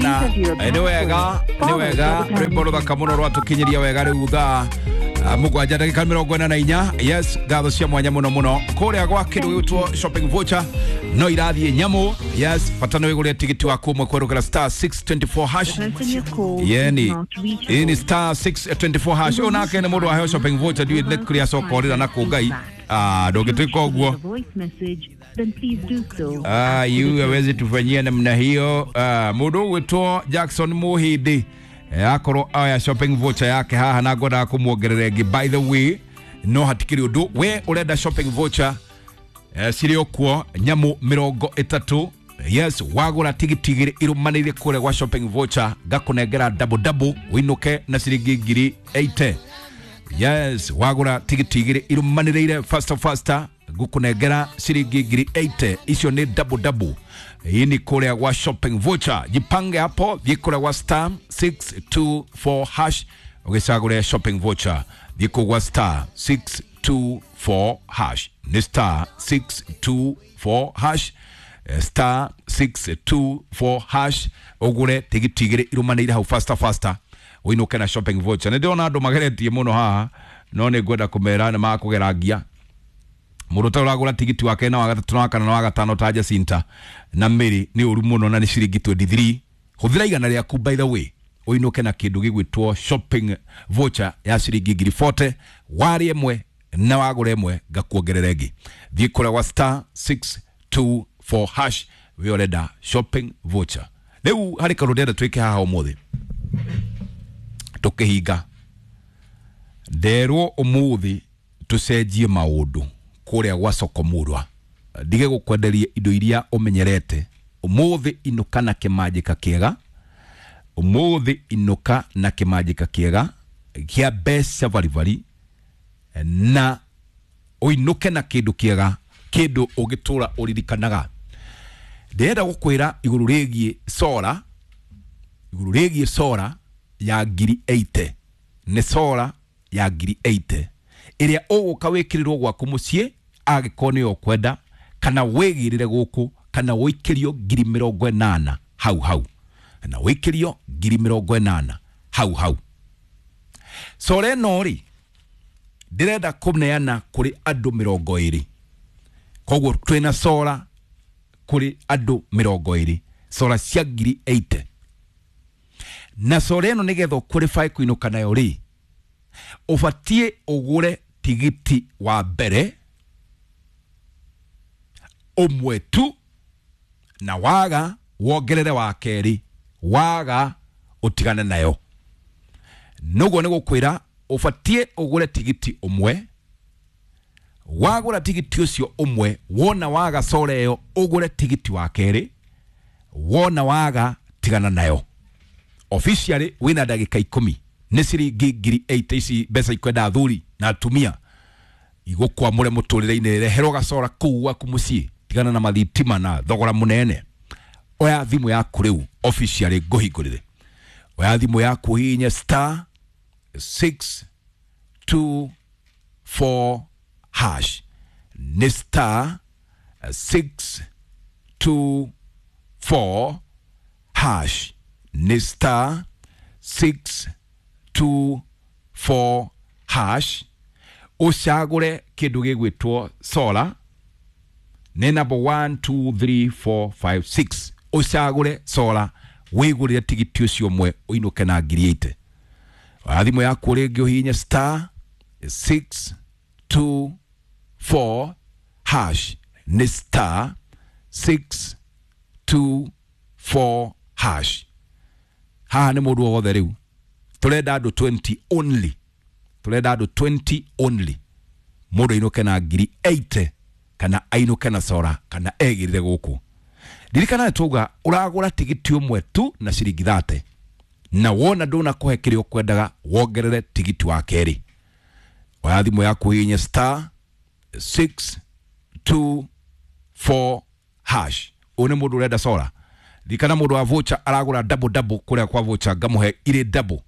Sana. Nĩ wega, nĩ wega. Rwĩmbo rũthaka mũno rwatũkinyĩria wega rĩu thaa mũgwanja ndagĩka 44. Yes, ngatho cia mwanya mũno mũno kũrĩa gwa kĩndũ gĩgwĩtwo shopping voucher no irathiĩ nyamũ. Yes, bata nĩ wĩgũrĩre tigiti waku ũmwe kwerũkĩra star 624 hash. Yeni ini star 624 hash. Ũyũ nake nĩ mũndũ waheo shopping voucher, ndiũĩ nĩ kũrĩa acoka orĩra na kũ Ngai. Ah, ndũngĩtuĩka ũguo. Ah, yu hawezi tufanyia namna hiyo. Ah, mũndũ ũgwĩtwo Jackson Muhindi akorwo aya shopping voucher yake haha na ngwendaga kũmuongerera ĩngĩ. By the way, no hatikĩrĩ ũndũ, we ũrenda shopping voucher cirĩ o kuo nyamũ 30. Yes, wagũra tigiti igĩrĩ irũmanĩire kũrĩa gwa shopping voucher ngakũnengera double double ũinũke na ciringi 80,000. Yes, wagũra tigiti igĩrĩ irũmanĩrĩire faster faster ngũkũnengera ciringi 80,000. Icio nĩ double double. Hii ni kũrĩa gwa shopping voucher. Jipange hapo, thiĩ kũrĩa gwa star 624 hash ũgĩcagũre shopping voucher. Thiĩ kũu gwa star 624 hash, nĩ star 624 hash. Star 624 hash ũgũre tigiti igĩrĩ irũmanĩire hau faster faster ũinũke na shopping voucher. Nĩ ndĩrona andũ mageretie mũno haha, no nĩ ngwenda kũmera nĩ makũgerangia. Mũndũ ũtarĩ ũragũra tigiti wa kerĩ na wa gatatũ na wa kana na wa gatano ta Jacinta na Mary nĩ ũru mũno, na nĩ ciringi 23. Hũthĩra 100 rĩaku, by the way, ũinũke na kĩndũ gĩgwĩtwo shopping voucher ya ciringi 40,000. Warĩ ĩmwe na wagũra ĩmwe ngakuongerera ĩngĩ. Thiĩ kũrĩa gwa star 624 hash we ũrenda shopping voucher. Rĩu harĩ kaũndũ ndĩrenda twĩke haha ũmũthĩ tũkĩhinga. Nderwo ũmũthĩ tũcenjie maũndũ kũrĩa gwa Sokomurwa, ndige gũkwenderia indo iria ũmenyerete. Ũmũthĩ inũka na kĩmanjĩka kĩega, ũmũthĩ inũka na kĩmanjĩka kĩega kĩa mbeca baribari, na ũinũke na kĩndũ kĩega, kĩndũ ũngĩtũra ũririkanaga. Ndĩrenda gũkwĩra igũrũ rĩgiĩ sora, igũrũ rĩgiĩ sora ya 80,000. Nĩ sora ya 80,000 ĩrĩa ũgũka wĩkĩrĩrwo gwaku mũciĩ angĩkorwo nĩyo ũkwenda, kana wĩgĩrĩre gũkũ, kana wĩikĩrio 80,000 hau hau, na wĩikĩrio 80,000 hau hau. Sora ĩno rĩ, ndĩrenda kũneana kũrĩ andũ 20. Koguo twĩna sora kũrĩ andũ 20, sora cia 80,000. Na sora ĩno nĩgetha ũqualify kũinũka nayo rĩ, ũbatiĩ ũgũre tigiti wa mbere ũmwe tu, na waga wongerere wa kerĩ, waga ũtigane nayo. Noguo nĩ gũkwĩra ũbatiĩ ũgũre tigiti ũmwe. Wagũra tigiti ũcio ũmwe, wona waga sora ĩyo ũgũre tigiti wa kerĩ, wona waga tigana nayo. Officially wĩna ndagĩka 10. Nĩ ciringi 80,000 ici, mbeca ikwenda athuri na atumia igũkwamũre mũtũrĩre-inĩ. Reherwo gacora kũu gwaku mũciĩ, tigana na mathitima na thogora mũnene. Oya thimũ yaku rĩu officially ngũhingũrĩre. Oya thimũ yaku ũhihinye star 624 hash, nĩ star 624 hash, nĩ star 624 hash. Ũcagũre kĩndũ gĩgwĩtwo solar, nĩ number 1 2 3 4 5 6. Ũcagũre solar wĩgũrĩre tigiti ũcio ũmwe ũinũke na 80,000. Oya thimũ yaku rĩngĩ ũhihinye star 624 hash, nĩ star 624 hash. Haha nĩ mũndũ o wothe rĩu, tũrenda andũ 20 only, tũrenda andũ 20 only. Mũndũ ainũke na 80,000 kana ainũke na sora kana egĩrĩre gũkũ. Ndirikana nĩ twauga ũragũra tigiti ũmwe tu na ciringi 30, na wona ndũnakũhe kĩrĩa ũkwendaga wongerere tigiti wa kerĩ. Oya thimũ yaku ũhihinye star 624 hash. Ũyũ nĩ mũndũ ũrenda sora. Ririkana mũndũ wa voucher aragũra double double kũrĩa kwa voucher ngamũhe irĩ double.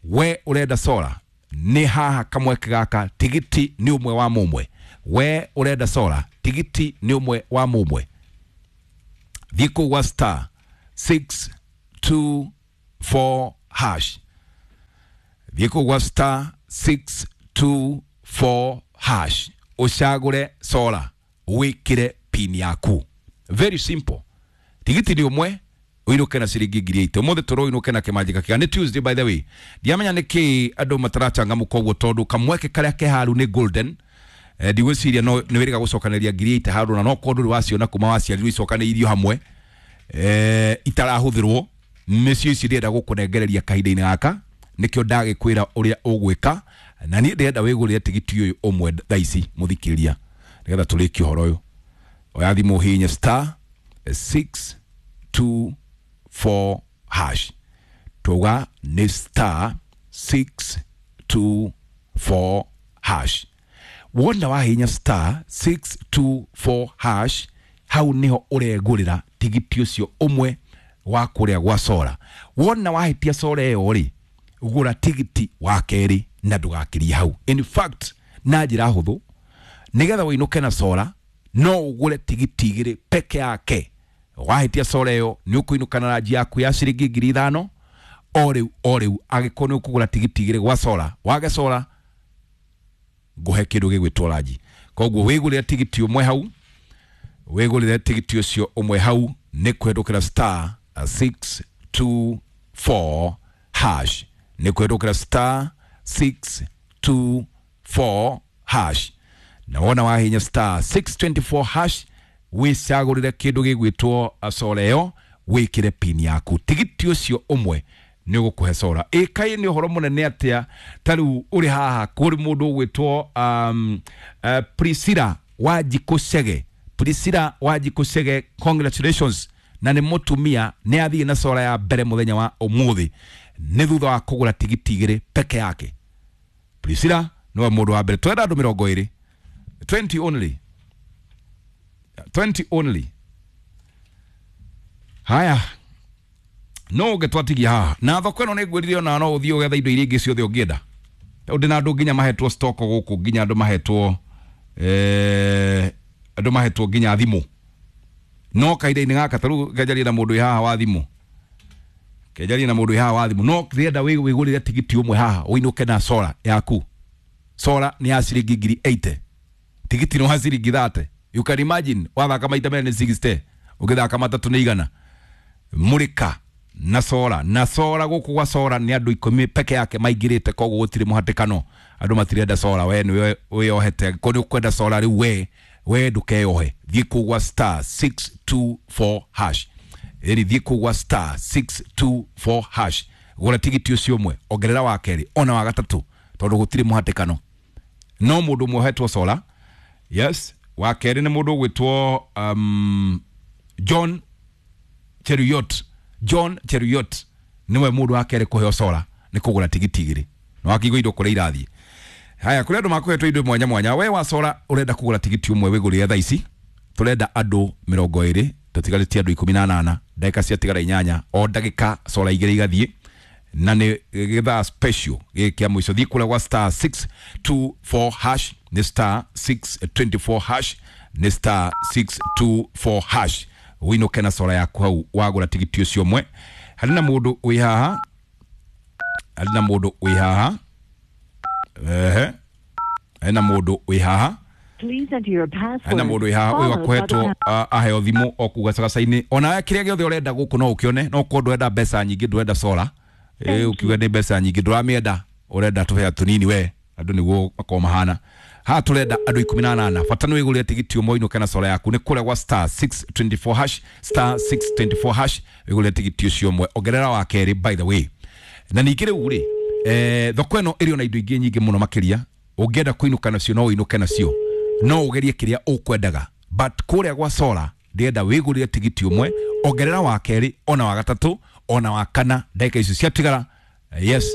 We ũrenda sora nĩ haha kamweke gaka, tigiti nĩ ũmwe wa mũmwe. We ũrenda sora, tigiti nĩ ũmwe wa mũmwe. Thiĩ kũu gwa star 6 624 hash. Thiĩ kũu gwa star 624 hash ũcagũre sora wĩkĩre pin yaku. Very simple. Tigiti nĩ ũmwe ũinũke na ciringi 8,000. Ũmũthĩ tũroinũke na kĩmanjĩka kĩega. Nĩ Tuesday by the way. Ndiamenya nĩkĩ andũ matarachangamũka ũguo tondũ kamweke karĩa ke haru nĩ golden. Ndigwĩciria no nĩ wĩrĩga gũcokanĩria 8,000 handũ na no korwo ndũrĩ waciona kuma waciarirwo icokanĩirio hamwe itarahũthĩrwo nĩcio ici ndĩrenda gũkũnengereria kahinda-inĩ gaka. Nĩkĩo ndagĩkwĩra ũrĩa ũgwĩka na niĩ ndĩrenda wĩgũrĩre tigiti ũyũ ũmwe thaa ici mũthikĩrĩria nĩgetha tũrĩkie ũhoro ũyũ. Oya thimũ hihinya star 624 hash. Tuga nĩ star 624 hash. Wona wahinya star 624 hash hau niho ũregũrĩra tigiti ũcio ũmwe wa kũrĩa gwa sora. Wona wahĩtia sora ĩyo rĩ, gũra tigiti wa kerĩ na ndũgakĩrie hau. In fact na njĩra hũthũ nĩgetha ũinũke na sora no ũgũre tigiti igĩrĩ peke yake. Wahĩtia sora ĩyo nĩ ũkũinũka na ranji yaku ya ciringi 5,000 o rĩu o rĩu. Angĩkorwo nĩ ũkũgũra tigiti igĩrĩ gwa sora, wage sora ngũhe kĩndũ gĩgwĩtwo ranji. Koguo wĩgũrĩre tigiti ũmwe hau, wĩgũrĩre tigiti ũcio ũmwe hau nĩ kũhetũkĩra star 624 hash. Nĩ kũhetũkĩra star 624 hash. Na wona wahinya star 624 hash wĩcagũrĩre kĩndũ gĩgwĩtwo sora ĩyo wĩkĩre pin yaku. Tigiti ũcio ũmwe nĩ ũgũkũhe sora. Ĩkaĩ nĩ ũhoro mũnene atĩa ta rĩu ũrĩ haha kũrĩ mũndũ ũgwĩtwo Priscilla Wanjikũ Chege. Priscilla Wanjikũ Chege, congratulations. Na nĩ mũtumia nĩ athiĩ na sora ya mbere mũthenya wa ũmũthĩ nĩ thutha wa kũgũra tigiti igĩrĩ peke yake. Priscilla nĩwe mũndũ wa mbere. Twenda andũ 20, 20 only, 20 only. Haya, no ũngĩtwatigia haha na thoko ĩno nĩ ngwĩrire ona no ũthiĩ ũgetha indo iria ingĩ ciothe ũngĩenda. Tondũ ndĩna andũ nginya mahetwo stock gũkũ, nginya andũ mahetwo andũ mahetwo nginya thimũ. No kahinda-inĩ gaka ta rĩu ngenjarie na mũndũ wĩ haha wa thimũ, kenjarie na mũndũ wĩ haha wa thimũ. No ndĩrenda wĩgũrĩre tigiti ũmwe haha ũinũke na sora yaku. Sora nĩ ya ciringi 80,000, tigiti nĩ wa ciringi 30. You can imagine wathaka maita merĩ nĩ 60, ũngĩthaka matatũ nĩ 100. Mũrĩka na sora, na sora gũkũ gwa sora nĩ andũ 10 peke yake maingĩrĩte, koguo gũtirĩ mũhatĩkano. Andũ matirenda sora, we nĩwe wĩyohete. Angĩkorwo nĩ ũkwenda sora rĩu we ndũkeyohe, thiĩ kũu gwa star 624 hash. Ĩni thiĩ kũu gwa star 624 hash gũra tigiti ũcio ũmwe, ongerera wa kerĩ ona wa gatatũ tondũ gũtirĩ mũhatĩkano. No mũndũ ũmwe ũhetwo sora. Yes, wa kerĩ nĩ mũndũ ũgwĩtwo John Cheruiyot. John Cheruiyot niwe mũndũ wa kerĩ kũheo sora nĩ kũgũra tigiti igĩrĩ. Na wakĩigua indo kũrĩa irathiĩ. Haya, kũrĩ andũ makũhetwo indo mwanya mwanya. We wa sora ũrenda kũgũra tigiti ũmwe wĩgũrĩre thaa ici. Tũrenda andũ 20, tũtigarĩtie andũ 18, ndagĩka ciatigara 8, o ndagĩka sora igĩrĩ igathiĩ. Na nĩ gĩthaa special gĩkĩ kĩa mũico. Thiĩ kũrĩa gwa star 624 hash, nĩ star 624 hash, nĩ star 624 hash. Ũinũke na sora yaku hau wagũra tigiti ũcio ũmwe. Harĩ na mũndũ wĩ haha, harĩ na mũndũ wĩ haha, ehe, harĩ na mũndũ wĩ haha, harĩ na mũndũ wĩ haha ũyũ akũhetwo aheo thimũ o kũu gacagaca-inĩ. Ona kĩrĩa gĩothe ũrenda gũkũ no ũkĩone, no korwo ndũrenda mbeca nyingĩ, ndũrenda sora, ũkiuga nĩ mbeca nyingĩ ndũramĩenda, ũrenda tũhea tũnini we, andũ nĩguo makorwo mahana. Haha tũrenda andũ 18. Bata nĩ wĩgũrĩre tigiti ũmwe ũinũke na sora yaku. Nĩ kũrĩa gwa star 624 hash, star 624 hash wĩgũrĩre tigiti ũcio ũmwe, ongerera wa kerĩ by the way. Na ningĩ rĩu rĩ, thoko ĩno ĩrĩ ona indo ingĩ nyingĩ mũno makĩria. Ũngĩenda kũinũka nacio no ũinũke nacio, no ũgerie kĩrĩa ũkwendaga. But kũrĩa gwa sora ndĩrenda wĩgũrĩre tigiti ũmwe, ongerera wa kerĩ ona wa gatatũ ona wa kana. Ndagĩka icio ciatigara, yes,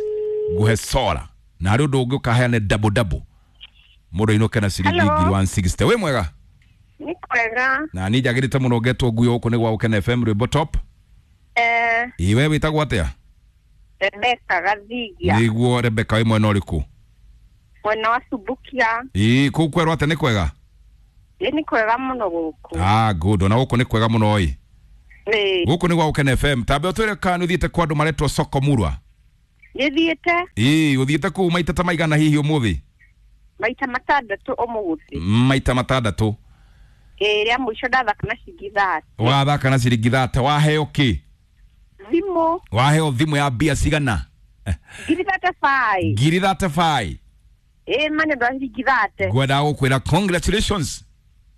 nguhe sora. Na harĩ ũndũ ũngĩ ũkaheane double double, mũndũ ainũke na ciringi 160. Wĩ mwega? Nĩ kwega. Na niĩ njagĩrĩte mũno ngetwo nguo gũkũ nĩ gwa Gũkena FM rwĩmbo top. Ĩ we wĩtagwo atĩa? Rebecca Gathigia. Nĩguo Rebecca, wĩ mwena ũrĩkũ? Mwena wa Subukia. Ĩ kũu kwerwo atĩa, nĩ kwega? Ĩ nĩ kwega mũno gũkũ. Ah, good. Ona gũkũ nĩ kwega mũno ĩ. Ĩĩ. Gũkũ nĩ gwa Gũkena FM. Tambe ũtwĩre kana nĩ ũthiĩte kwa andũ maretwo Soko Murwa. Nĩthiĩte. Ĩĩ, ũthiĩte kũu maita ta maigana hihi ũmũthĩ? Maita matandatũ ũmũthĩ. Maita matandatũ. Ĩĩ, rĩa mũico ndathaka na ciringi 30. Wathaka na ciringi 30, waheo kĩ? Thimũ. Waheo thimũ ya mbia cigana? 35,000. 35,000. Ĩĩ, ma nĩ ũndũ wa ciringi 30. Ngwendaga gũkwĩra congratulations.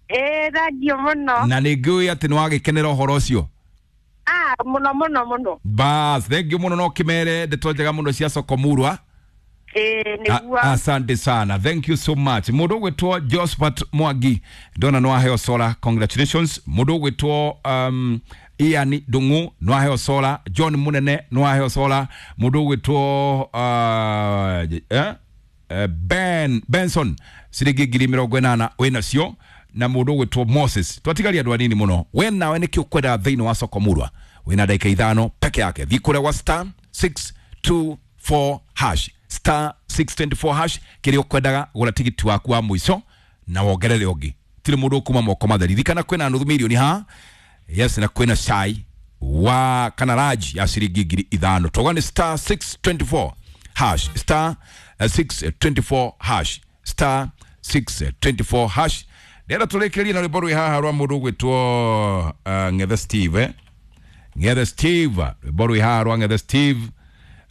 Ĩĩ, thank you mũno. Na nĩ ngĩũĩ atĩ nĩ wagĩkenera ũhoro ũcio. Ah, mũno mũno mũno. Bas, thank you mũno, no kĩmere ndeto njega mũno cia Soko Murwa. Ĩĩ, nĩguo. Asante sana, thank you so much. Mũndũ ũgwĩtwo Josephat Mwangi ndona nĩ waheo sola, congratulations. Mũndũ ũgwĩtwo Ian Ndung'u nĩ waheo sola, John Munene nĩ waheo sola, mũndũ ũgwĩtwo Ben Benson ciringi 80,000 wĩnacio, na mũndũ ũgwĩtwo Moses. Twatigaria andũ anini mũno. We nawe nĩkĩ ũkwenda thĩinĩ wa Soko Murwa? Wĩna ndagĩka 5 peke yake. Thiĩ kũrĩa gwa star 624 hash, star 624 hash, kĩrĩa ũkwendaga, gũra tigiti waku wa mũico na wongerere ũngĩ. Tirĩ mũndũ ũkuma moko matheri. Ririkana kwĩna nuthu mirioni haha, yes, na kwĩna cai wa kana raji ya ciringi 5,000. Toga nĩ star 624 hash, star 624 hash, star 624 hash. Ndĩrenda tũrĩkĩrĩrie na rwĩmbo rwĩ haha rwa mũndũ ũgwĩtwo Ng'ethe Steve, eh? Ng'ethe Steve, rwĩmbo rwĩ haha rwa Ng'ethe Steve,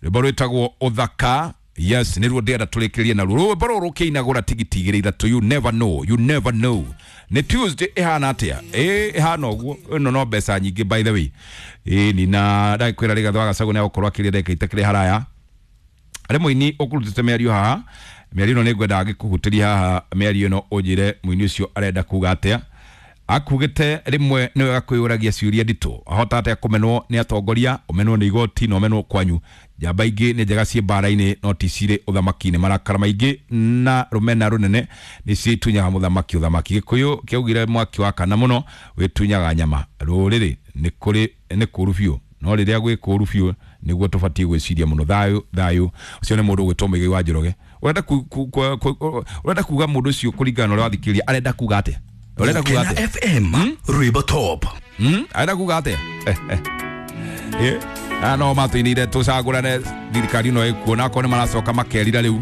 rwĩmbo rwĩtagwo Ũthaka. Yes, nĩruo ndĩrenda tũrĩkĩrĩrie naruo rwĩmbo rũrũ rũkĩinagũra tigiti igĩrĩ ithatũ. You never know, you never know. Nĩ Tuesday ĩhana atĩa? Ĩ, ĩhana ũguo. Ĩno no mbeca nyingĩ, by the way. Ĩ ni na ndagĩkwĩra Rigathĩ wa Gachagua nĩegũkorwo akĩria ndagĩka itakĩrĩ haraya. Arĩ mũini ũkũrutĩte mĩario haha, mĩario ĩno nĩ ngwendaga ngĩkũhutĩria haha mĩario ĩno, ũnjĩre mũini ũcio arenda kuga atĩa. Akugĩte rĩmwe nĩ wega kwĩyũragia ciũria nditũ, ahota atĩa kũmenwo nĩ atongoria, ũmenwo nĩ igoti na ũmenwo kwanyu. Njamba ingĩ nĩ njega ciĩ mbara-inĩ no ti cirĩ ũthamaki-inĩ. Marakara maingĩ na rũmena rũnene nĩ ciĩtunyaga mũthamaki ũthamaki. Gĩkũyũ kĩaugire mwaki wakana mũno wĩtunyaga nyama. Rũrĩrĩ nĩ kũrĩ nĩ kũũru biũ, no rĩrĩa gwĩ kũũru biũ nĩguo tũbatiĩ gwĩciria mũno. Thayũ thayũ. Ũcio nĩ mũndũ ũgwĩtwo Mũigai wa Njoroge. Ũrenda ũrenda kuga mũndũ ũcio kũringana na ũrĩa wathikĩrĩria arenda kuga atĩa? Ũrenda kuga Gũkena atĩa? FM, rwĩmbo top. Arenda kuga atĩa? Aya no matũinĩire tũcagũrane thirikari ĩno ĩkuo, na akorwo nĩ maracoka makerira rĩu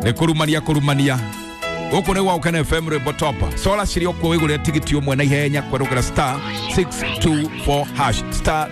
nĩ kũrumania kũrumania. Gũkũ nĩ gwa Gũkena FM, rwĩmbo top. Sola cirĩ o kuo, wĩgũrĩre tigiti ũmwe na ihenya kwerũkĩra star 624 hash, star